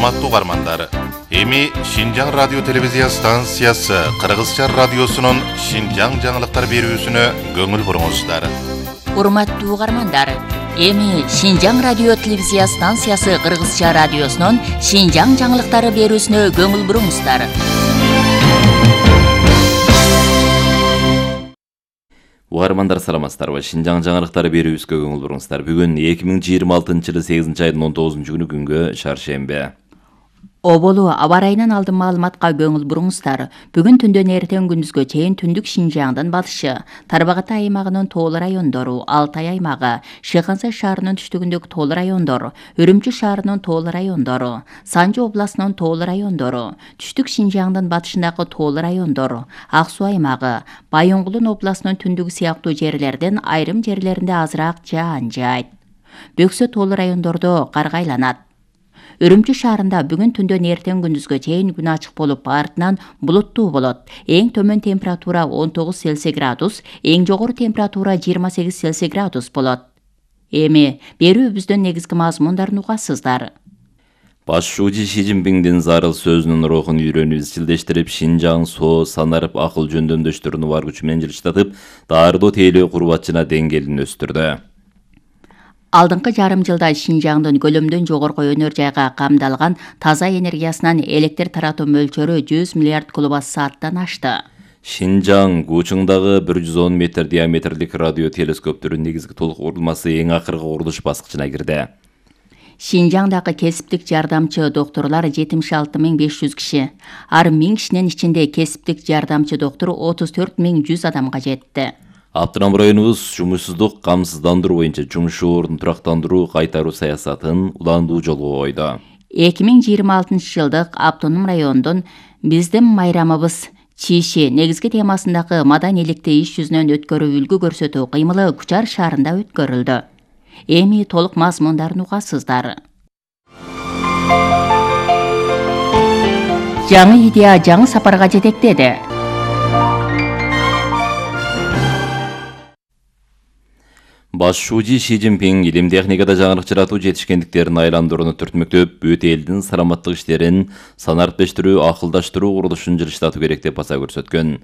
Урматтуу угармандар, эми Шинжаң радио телевизия станциясы Кыргызча радиосунун Шинжаң жаңылыктар берүүсүнө көңүл буруңуздар. Урматтуу угармандар, эми Шинжаң радио телевизия станциясы Кыргызча радиосунун Шинжаң жаңылыктары берүүсүнө көңүл буруңуздар. Угармандар саламатсыздарбы? Шинжаң жаңылыктары берүүбүзгө көңүл буруңуздар. Бүгүн 2026-жылы 8-айдын 19 күнгө шаршембе. Оболу аба ырайынан алдын маалыматка көңүл буруңуздар. Бүгүн түндөн эртең күндүзгө чейин түндүк Шинжаңдын батышы, Тарбагатай аймагынын тоолуу райондору, Алтай аймагы, Шыхансай шаарынын түштүгүндөгү тоолуу райондор, Үрүмчү шаарынын тоолуу райондору, Санжы областынын тоолуу райондору, түштүк Шинжаңдын батышындагы тоолуу райондор, Ак Суу аймагы, Байоңгулун областынын түндүгү сыяктуу жерлерден айрым жерлеринде азыраак жаан жаайт. Бөксө тоолуу райондордо кар айланат. Үрүмчү шаарында бүгүн түндөн эртең күндүзгө чейин күн ачык болуп, артынан булуттуу болот. Эң төмөн температура 19 Цельсий градус, эң жогору температура 28 Цельсий градус болот. Эми берүүбүздүн негизги мазмундарын угасыздар. Башчы Ши Цзиньпиңдин зарыл сөзүнүн рухун үйрөнүп изчилдештирип, Шинжаң соо санарып акыл жөндөмдөштөрүнү бар күчү менен жылыштатып, даардоо тейлөө курбатчына деңгээлин өстүрдү. Алдыңкы жарым жылда Шинжаңдын көлөмдөн жогорку өнөр жайга камдалган таза энергиясынан электр таратуу мөлчөрү 100 миллиард киловатт-сааттан ашты. Шинжаң Гучуңдагы 110 метр диаметрлик радио телескоптөрүнүн негизги толук курулмасы эң акыркы курулуш баскычына кирди. Шинжаңдагы кесиптик жардамчы доктурлар 76.500 киши. Ар 1000 кишинин ичинде кесиптик жардамчы доктур 34.100 адамга жетти. Автоном районубуз жумушсуздук камсыздандыруу боюнча жумуш ордун турактандыруу кайтаруу саясатын уландуу жолго койду. 2026 жылдык автоном райондун биздин майрамыбыз чиши негизги темасындагы маданийликти иш жүзүнөн өткөрүү үлгү көрсөтүү кыймылы Кучар шаарында өткөрүлдү. Эми толук мазмундарын угасыздар. Жаңы идея жаңы сапарга жетектеди. Башчы Ши Цзиньпиң илим техникада жаңылык жаратуу жетишкендиктерин айландырууну түртмөктөп, бүт элдин саламаттык иштерин санариптештирүү, акылдаштыруу курулушун жылыштатуу керек деп баса көрсөткөн.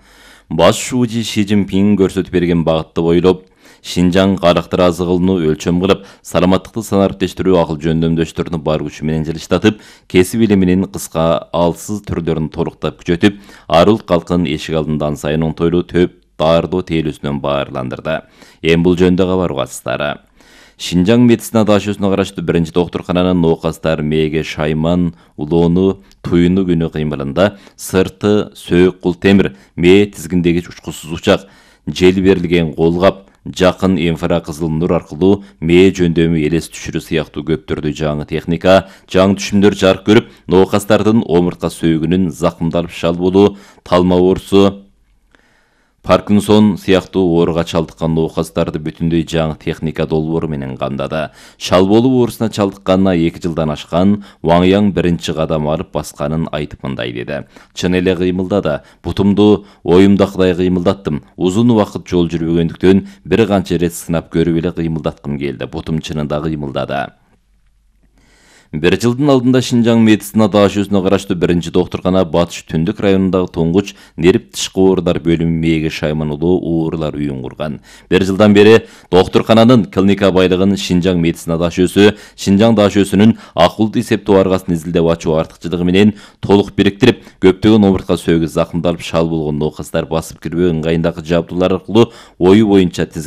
Башчы Ши Цзиньпиң көрсөтүп берген багытты бойлоп, Шинжаң карактыр азыгылууну өлчөм кылып, саламаттыкты санариптештирүү, акыл жөндөмдөштөрүнү бар күчү менен жылыштатып, кесип илиминин кыска алсыз түрлөрүн толуктап күчөтүп, ар улут калкын эшик алдында ан сайын оңтойлуу төп дардоо тейлүүсүнөн баарландырды. Эми бул жөнүндө кабар угасыздар. Шинжаң медицина дашөсүнө караштуу биринчи доктуркананын оокастар мээге шайман, улоону, туюну күнү кыймылында сырты, сөөк кул темир, мээ тизгиндеги учкусуз учак, жел берилген колгап, жакын инфракызыл нур аркылуу мээ жөндөмү элес түшүрүү сыяктуу көптөрдү жаңы техника, жаңы түшүмдөр жарык көрүп, оокастардын омуртка сөөгүнүн закымдалып шал болуу, талма оорусу, Паркинсон сыяктуу ооруга чалдыккан оокастарды бүтүндөй жаңы техника долбоору менен камдады. Шал болуу оорусуна чалдыкканына 2 жылдан ашкан, Ваң Яң биринчи кадам алып басканын айтып мындай деди. Чын эле кыймылдады. Бутумду оюмдакыдай кыймылдаттым. Узун убакыт жол жүрбөгөндүктөн бир канча ирет сынап көрүп эле кыймылдаткым келди. Бутум чынында кыймылдады. Бир жылдын алдында Шинжаң медицина дашөсүнө караштуу биринчи доктуркана Батыш түндүк районундагы туңгуч нерв тышкы оорулар бөлүмү мээге шайманылуу оорулар үйүн курган. Бир жылдан бери доктуркананын клиника байлыгын Шинжаң медицина дашөсү, Шинжаң дашөсүнүн акылдуу эсептөө аргасын изилдеп ачуу артыкчылыгы менен толук бириктирип, көптөгөн омуртка сөөгү закымдалып шал болгон оокастар басып кирбөө ыңгайындагы жабдуулар аркылуу ою боюнча тизгин